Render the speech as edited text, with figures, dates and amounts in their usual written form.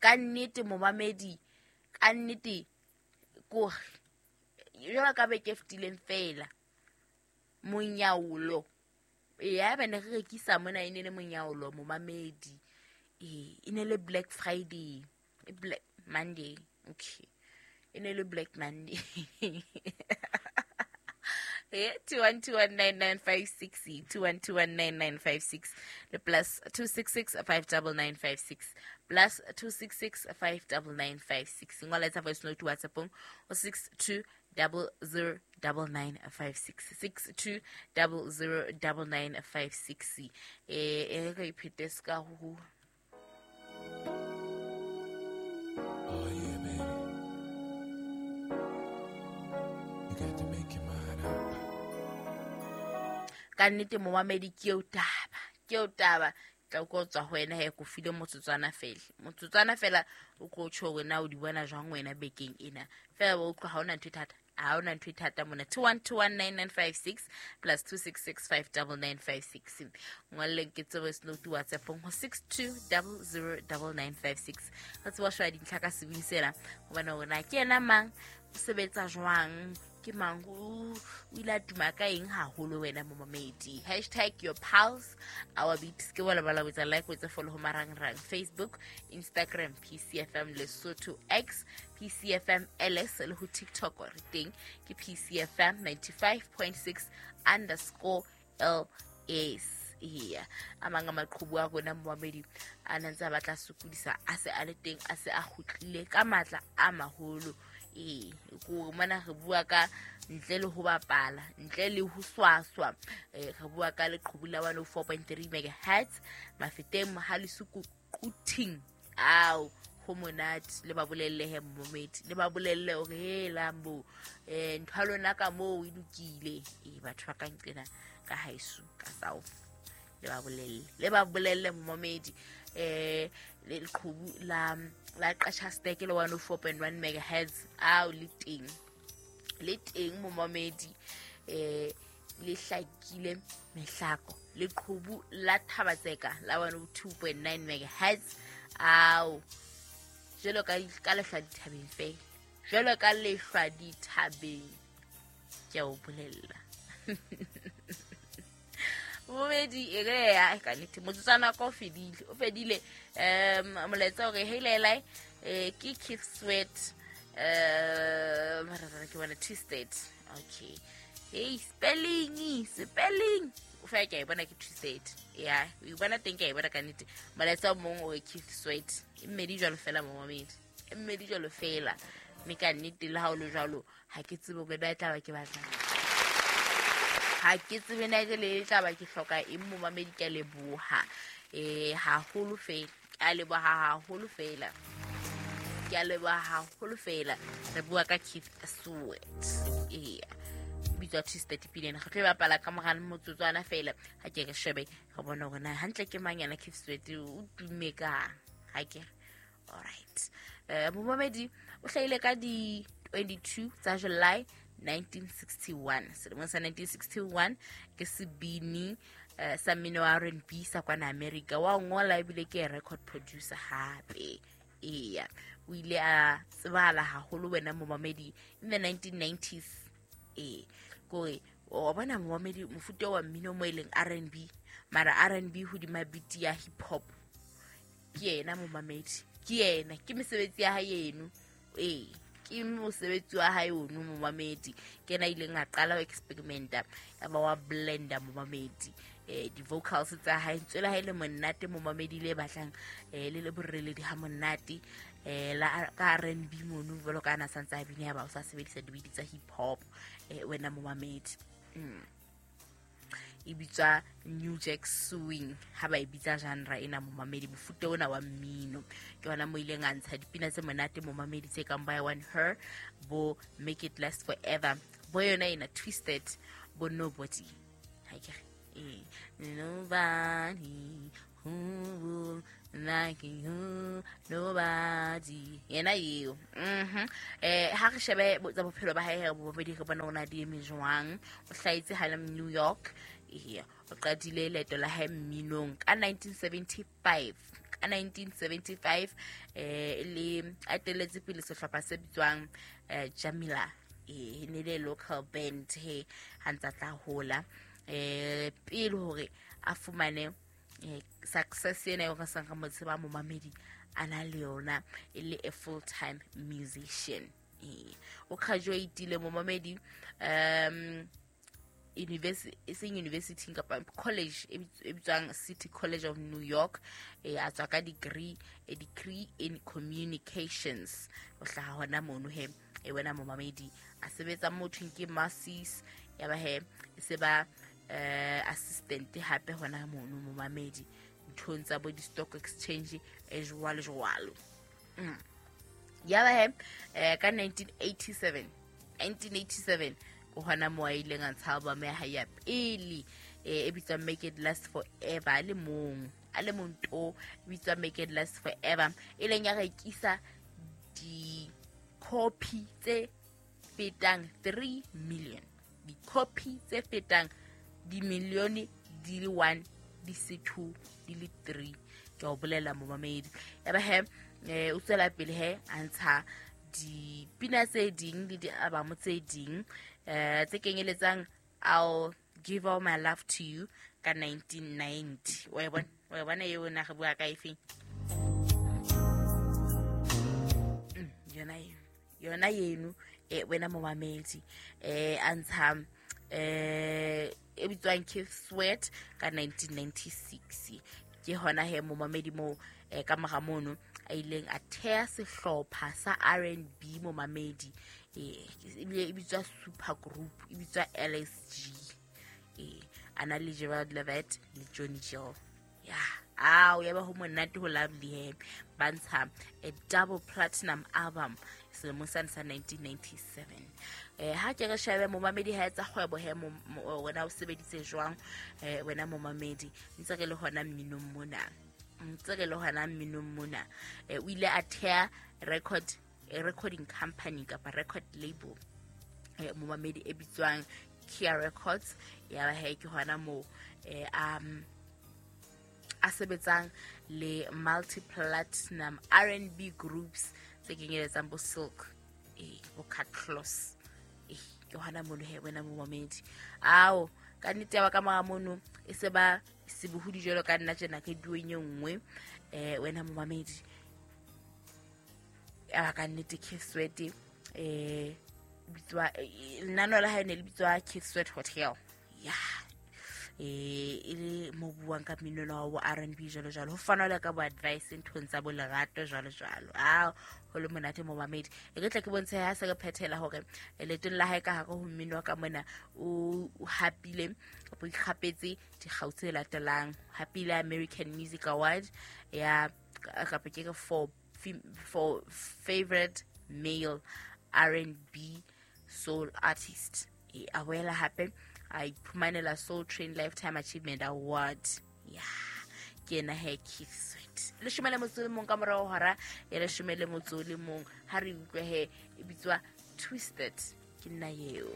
Ka nnete momamedi, ka nnete kore jwalo ka beke e fetileng feela monyaolo. Ee, haeba ne re rekisa mona e ne le monyaolo momamedi. Ee, e ne le Black Friday, Black Monday. Okay, e ne le Black Monday. 21219956, 21219956 le plus 266 59956, +266 59956. Ngola, etsa voice note WhatsAppong o 62009956, 62009956. E re iphete se ka ho Oh yeah, baby. You got to make your mind up. Ka nnete momamedi, ke eo taba, ke eo taba. Tla ko tswa ho wena he, ko file motsotswana fela, motsotswana fela o tlo tjho hore na o di bona jwang wena bekeng ena fela. Wa utlwa, ha ona ntho e thata, ha ona ntho e thata mona. 21219956, +26659956. Ngwalleng ke tsebo voice note WhatsAppong ho 62009956. Re tseba shwa dintlha ka sebini sena, hobane hore na ke yena mang, o sebetsa jwang, ke mang, o ile a tuma ka eng haholo wena momamedi. #YourPulseOurBeats ke bona ba botsa. Like, o etse follow ho marangrang: Facebook, Instagram PCFM Lesotho, X PCFM LS, le ho TikTok re teng ke PCFM 95.6_LS. Eya, a mang a maqhubu a rona momamedi a na ntse a batla sokodisa, a se a le teng, a se a kgutlile ka matla a maholo. Ee, kore mona re bua ka ntle le ho bapala, ntle le ho swaswa. Re bua ka leqhubu la 104.3 megahertz Mafeteng, Mohale's Quthing. Ao, ho monate. Le ba bolelle he momamedi, le ba bolelle hore helang bo ntho ya lona ka moo e lokile. Ee, batho ba ka nqena ka haeso ka south, le ba bolelle, le ba bolelle momamedi. Leqhubu la Qachasterk le 104.1 megahertz ao, le teng, le teng momamedi. Le hlakile mehlako. Leqhubu la Thabatseka la 102.9 megahertz ao, jwalo ka lehlwa dithabeng fela, jwalo ka lehlwa dithabeng, ke a o bolella momedi. E re ya ka nnete motsotswana ka o fedile, o fedile. Molaetsa hore heilelai, ke Keith Sweat. Mara ke bona Twisted. Okay, hey, spelling, spelling o fa ke a e bona, ke Twisted ya o e bona teng, ke a e bona ka nnete. Molaetsa o mong o re Keith Sweat, e mmedi jwalo fela momamedi, e mmedi jwalo fela. Mme ka nnete le ha o le jwalo, ha ke tsebe hore na e tla ba ke batlang, ha ke tsebe na ke le tla ba ke hloka eng momamedi. Ke a leboha haholo fela, ke a leboha haholo fela, ke a leboha haholo fela. Re bua ka Keith Sweat, eya, bitswa Twisted pina. Re tlo e bapala ka mora motsotswana fela. Ha ke re shebe, re bone hore na hantle ke mang yana Keith Sweat, o tumme kang. Ha ke re alright, momamedi, o hlahile ka di 22 tsa July 1961, selemong sa 1961. Ke sebini sa mmino wa R&B sa kwana America, wa ngola ebile ke record producer hape. Eya, o ile a tsebahala haholo wena momamedi in the 1990s. Ee, kore wa bona momamedi, mofuta wa mmino mo e leng R&B, mara R&B hodima beat ya hip hop, ke yena momamedi, ke yena, ke mesebetsi ya hae eno. Ee, ke mosebetsi wa hae ono momamedi. Ke yena a ileng a qala ho experimenta, ya ba wa blenda momamedi. Di-vocals tsa hae, ntswe la hae le monate momamedi, le batlang le le boreledi ha monate la ka R&B mono, jwalo ka ana santse a bine, ya ba o sa sebedisa dibidi tsa hip hop, wena momamedi. E bitswa New Jack Swing ha ba e bitsa genre ena momamedi, mofuta ona wa mmino. Ke hona mo ileng a ntsha dipina tse monate momamedi, tse kang by One Her, bo Make It Last Forever, bo yona ena Twisted, bo Nobody. Ha ke re nobody who will like you, nobody, yena eo. Ha re shebe tsa bophelo ba hae momamedi, re bona o na di eme jwang. O hlahetse Harlem, New York. Eya, o qadile leeto la hae mminong ka 1975. Ka 1975 le atelletse pele sehlopha se bitswang Jamila. E ne le local band he ha ntsa tla hola, pele hore a fumane success ena eo re sang re mo tseba momamedi a na le yona e le a full time musician. O graduatile momamedi university, e seng university kapa college e bitswang City College of New York. A tswa ka degree, a degree in communications. O hlaha hona mono he e wena momamedi, a sebetsa mo thweng ke Macy's, ya ba he e se ba assistant hape hona mono momamedi nthong tsa bo di-stock exchange e jwalo jwalo. Ya ba he ka 1987 ke hona moo a ileng a ntsha album ya hae ya pele e bitswang Make It Last Forever. A le mong to, e bitswang Make It Last Forever, e leng ya rekisa di-copy tse fetang 3 million, di-copy tse fetang dimilione di le 1 di se 2 di le 3, ke a o bolela momamedi. Ya ba he o tswela pele he a ntsha dipina tse ding le di-album tse ding tse kenyeletsang I'll Give All My Love to You ka 1990. Wa e bona eo na re bua ka efeng? Yona eno wena momamedi a ntsha e bitswang Keith Sweat ka 1996. Ke hona he momamedi moo ka mora mono a ileng a thea sehlopha sa R&B momamedi, ebile e bitswa super group, e bitswa LSG. A na le Gerald Levett le Johnny Gill. Ya, ao ya ba ho monate ho lovely he. Ba ntsha a double platinum album selemong sane sa 1997. Ha ke re shebe momamedi ha etsa kgwebo he wena o sebeditse jwang wena momamedi, ntse re le hona mminong mona. O ile a thea recording company kapa record label momamedi e bitswang Kia Records. Ya ba he ke hona moo a sebetsang le multi-platinum R&B groups tse kenyeletsang bo Silk, bo Cat Clos. Ke hona mono he wena momamedi. Ao ka nnete ya ba ka mora mono e se ba sebohodi jwalo ka nna tjena ke dueng e nngwe wena momamedi. Ya ba ka nnete Keith Sweat bitswa lenano la hae ne le bitswa Keith Sweat Hotel. Ya e le mo buang ka mmino wa R&B jwalo jwalo, ho fanwa le ka bo advice nthong tsa bo lerato jwalo jwalo. Ao ho le monate momamedi. E ke tla ke bontshe ha se re phethela hore leetong la hae ka hare ho mmino wa ka mona o hapile o ikgapetse dikgau tse latelang. Hapile American Music Award ya kapa ke for favorite male R&B soul artist. A boela hape a iphumanela Soul Train Lifetime Achievement Award. Ya, ke ena he Keith Sweat. 11 ka morao hora ya 11 ha re utlwe he e bitswa Twisted. Ke nna eo.